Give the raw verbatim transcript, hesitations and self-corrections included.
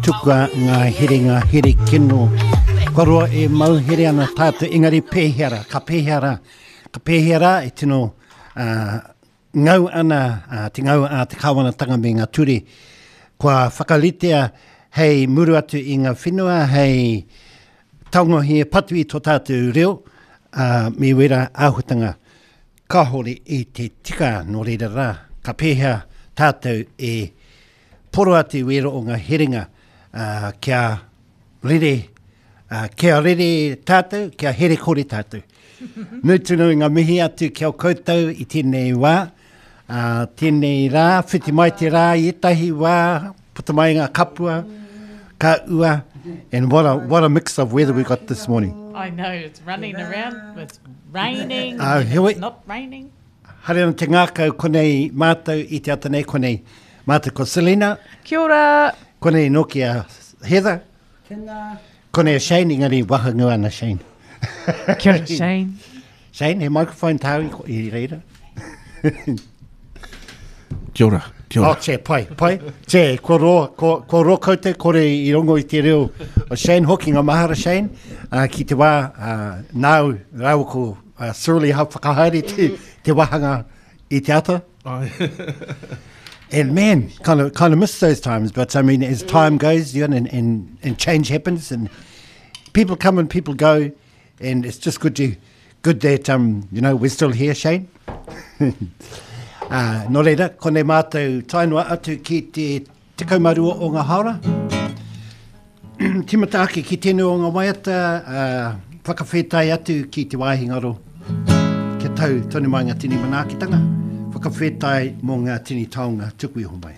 Tukua ngā herenga here kino. Kua roa e mau here ana tātou, engari pēhea rā, ka pēhea rā, ka pēhea rā e tino uh, ngau ana uh, te ngau a te kāwanatanga me ngā ture. Kua whakaritea hei muru atu i ngā whenua, hei taungohi e patu i tō tātou reo, uh, me wera āhuatanga kāhore i te tika nō reira rā. Ka pēhea tātou e poro atu i wera o ngā herenga uh, kia rere, uh, kia rere tātou, kia here kore tātou. Nui tonu i ngā mihi atu ki a koutou i tēnei wā, uh, tēnei rā, whiti mai te rā i ētahi wā, puta mai ngā kapua, ka ua, and what a, what a mix of weather we got this morning. I know, it's running around, it's raining, Uh, and heoi- it's not raining. Haere ana te ngākau konei mātou i te ata nei konei. Mātou ko Selena, Kia ora! konei noki a Heather, Tēnā. konei a Shane, engari wahangu ana Shane. Kia ora, Shane. Shane, he microphone tāu i, i reira. Kia ora, kia Oh, ora. che, pai, pai. Che, kua roa, kua, kua roa koutou kore i rongo i te reo o Shane, hoki ngā mahara Shane, uh, ki te wā uh, nāu rāua ko uh, Surly hau whakahaere te, te wahanga i te ata. Ai. And man, kind of, kind of miss those times. But I mean, as time goes, you know, and, and, and change happens, and people come and people go, and it's just good to, good that um, you know, we're still here, Shane. uh, nō reira, konei mātou tae noa atu ki te tekau mā rua o ngā haora. Timata ake ki tēnei o ngā waiata, uh, whakawhetai atu ki te wāhi ngaro. Kia tau tonu mai ngā tini manaakitanga, whakawhetai mō ngā tini taonga tuku iho mai.